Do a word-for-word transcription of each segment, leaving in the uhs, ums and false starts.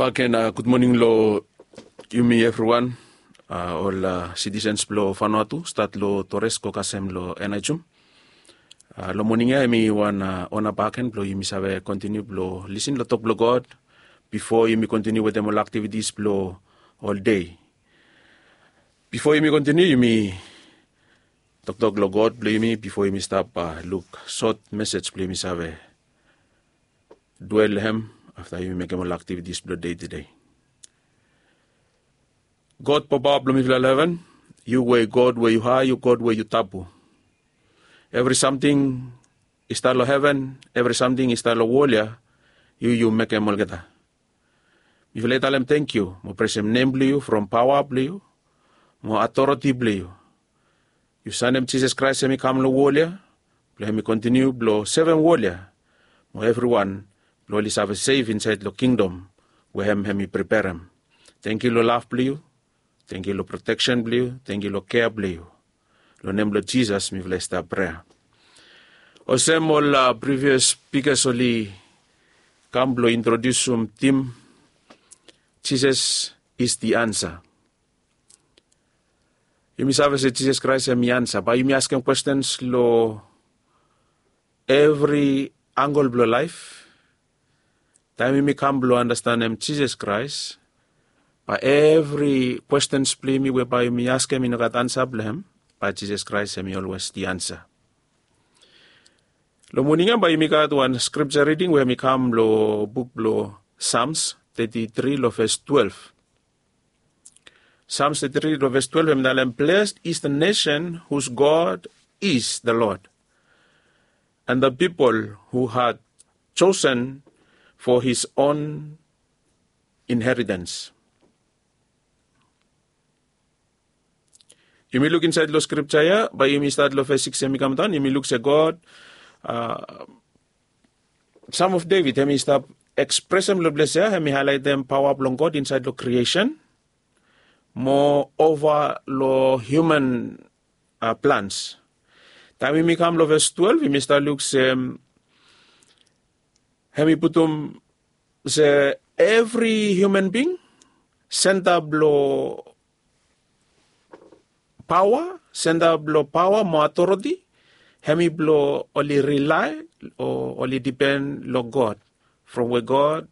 Bakegen, gud moning long yumi evriwan, ol sitisens blong Vanuatu, stat long Torres go kasem long Aneityum. Long moning ya hemi wan ona bakegen blong yumi save kontiniu blong lisin long tok blong God bifo yumi kontiniu wetem ol aktivitis blong ol dei. Bifo yumi kontiniu, yumi toktok long God blong yumi bifo yumi stap luk sot mesej blong yumi save dwel long hem afta yumi mekem ol aktivitis blong dei tede. God Papa blong mifala long heven, yu we God we yu hae, yu God we yu tabu. Evri samting i stap long heven, evri samting i stap long wol ya, yu yu mekem olgeta. Mifala i talem tangkiu mo presem nem blong yu from paoa blong yu mo atoreti blong yu. Yu sanem Jisas Kraes hem i kam long wol ya blong hem i kontiniu blong sevem wol ya mo evriwan blong oli save sef insaed long kingdom we hem hem i preperem. Tangkiu long lav blong yu. Tangkiu long proteksen blong yu. Tangkiu long kea blong yu. Long nem blong Jisas mifala i stap prea. Olsem ol privias spikas oli kam blong introdiusim tim, Jisas is the answer. Yumi save se Jisas Kraes hem i ansa. Bae yumi askem kwestens long evri angle blong laef. Taem yumi kam blong andastanem Jisas Kraes, bae evri kwestens blong yumi we bae yumi askem i no gat ansa blong hem, bae Jisas Kraes hem i olwes the ansa. Long moning ya bae yumi gat wan skripja riding we hem i kam long buk blong Psalms thirty-three long ves twelve. Psalms thirty-three long ves twelve hem i talem, "Blessed is the nation whose God is the Lord, and the people who had chosen for his own inheritance." Yumi luk insaed long skripja ya, bae yumi stat long ves sikis hem i kam daon, yumi luk se God, Psalm of David hem i stap ekspresem long ples ya hem i haelaetem paoa blong God insaed long kriesen mo ova long hiuman plans. Taem yumi kam long ves twelve yumi stap luk se hem i putum se evri hiuman bing, senta blong paoa, senta blong paoa mo atoreti hem i blong oli rilae o oli dipen long God, from we God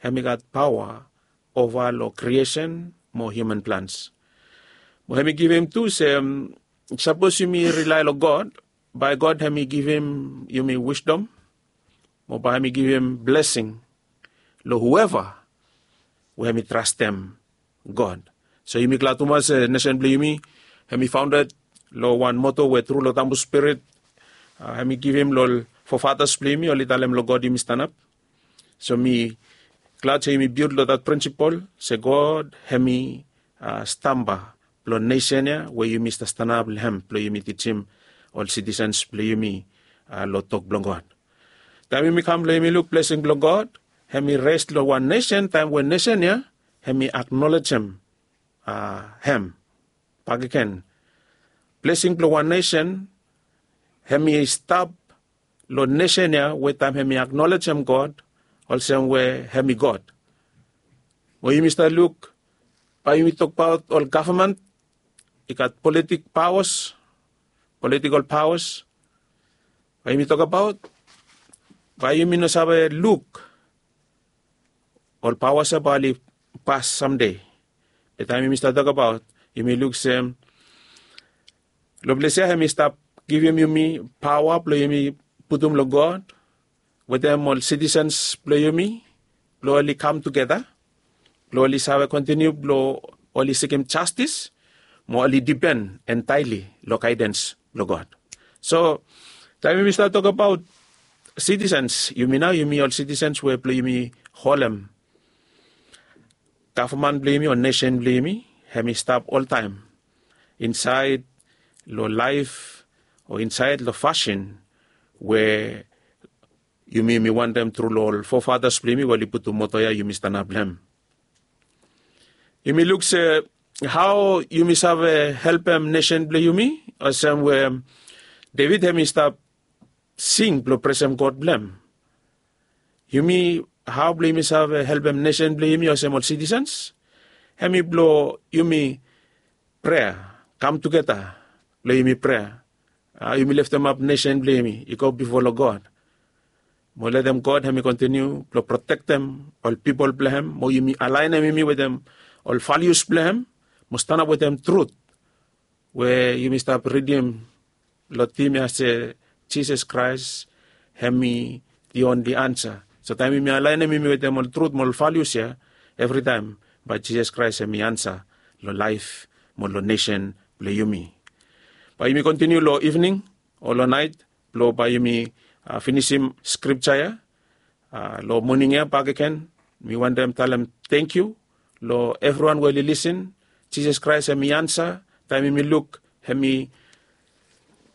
hem i gat paoa ova long kriesen mo hiuman plans. Mo hem i givim tu se sapos yumi rilae long God, bae God hem i givim yumi wisdom mo bae hem i givim blesing long hueva we hem i trastem God. So yumi glad tumas se nesen blong yumi hem i faonded long wan moto we tru long tambu spirit hem i givim long ol fofatas blong yumi oli talem long God yumi stanap. So mi glad se yumi bild long dat prinsipol se God hem i stamba blong nesen ya we yumi stap stanap long hem blong yumi tijim ol sitisens blong yumi long tok blong God. Taem yumi kam blong yumi luk blesing blong God hem i res long wan nesen taem we nesen ya hem i aknolejem hem bakegen. Blesing blong wan nesen hem i stap long nesen ya we taem hem i aknolejem God olsem we hem i God. Mo yumi stap luk bae yumi tokbaot ol gavman i gat politik paoas, politikol paoas. Bae yumi tokbaot bae yumi no save luk ol paoas ya bae oli pas samde. Be taem yumi stap tokbaot yumi luk se long ples ya hem i stap givim yumi paoa blong yumi putum long God wetem ol sitisens blong yumi blong oli kam tugeta blong oli save kontiniu blong oli sikim jastis mo oli dipen entaeli long gaedens blong God. So taem yumi stap tokbaot sitisens yumi nao yumi ol sitisens we blong yumi holem gavman blong yumi o nesen blong yumi hem i stap oltaem insaed long laef o insaed long fasin we yumi yumi wantem tru long ol fofatas blong yumi we oli putum moto ya yumi stanap long hem. Yumi luk se hao yumi save helpem nesen blong yumi olsem we Deved hem i stap sing blong presem God blong hem. Yumi hao blong yumi save helpem nesen blong yumi olsem ol sitisens, hem i blong yumi prea, kam tugeta blong yumi prea. Yumi leftemap nesen blong yumi i go bifo long God, mo letem God hem i kontiniu blong protektem ol pipol blong hem, mo yumi alaenem yumi wetem ol valius blong hem, mo stanap wetem trut we yumi stap ridim long tim ya se Jisas Kraes hem i the only ansa. So taem yumi alaenem yumi wetem ol trut mo ol valius ya, evritaem bae Jisas Kraes hem i ansa long laef mo long nesen blong yumi. Bae yumi kontiniu long ivning o long naet blong bae yumi finisim skripja ya. Long moning ya bakegen mi wantem talem tangkiu long evriwan we oli lisin. Jisas Kraes hem i ansa. Taem yumi luk hem i,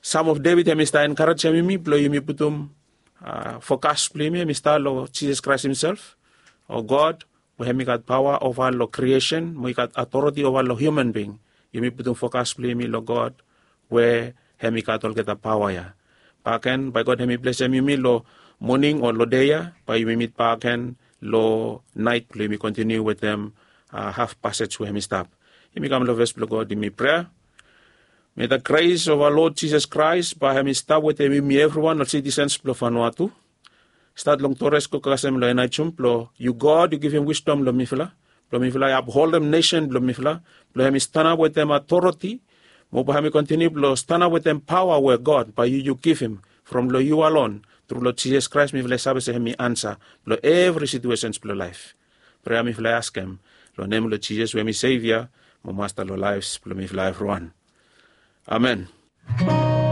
sam of Devid hem i stap enkarejem yumi blong yumi putum fokas blong yumi hem i stap long Jisas Kraes himself, o God we hem i gat paoa ova long kriesen mo i gat atoriti ova long hiuman bing. Yumi putum fokas blong yumi long God we hem i gat olgeta paoa ya. Bakegen bae God hem i blesem yumi long moning o long dei ya, bae yumi mit bakegen long naet blong yumi kontiniu wetem haf pasej we hem i stap. Yumi kam long fes blong God, yumi prea. May the grace of our Lord Jesus Christ bae hem i stap wetem yumi evriwan ol sitisens blong Vanuatu, stat long Torres go kasem long enajum blong yu God yu givim wisdom long mifala, blong mifala i apholdem nesen blong mifala, blong hem i stanap wetem atoriti, mo bae hem i kontiniu blong stanap wetem paoa we God bae yu yu givim from long yu alon. Tru long Jisas Kraes mifala i save se hem i ansa blong evri situesens blong laef. Prea mifala i askem long nem blong Jisas we hem i Sevia mo Masta long laefs blong mifala evriwan. Amen.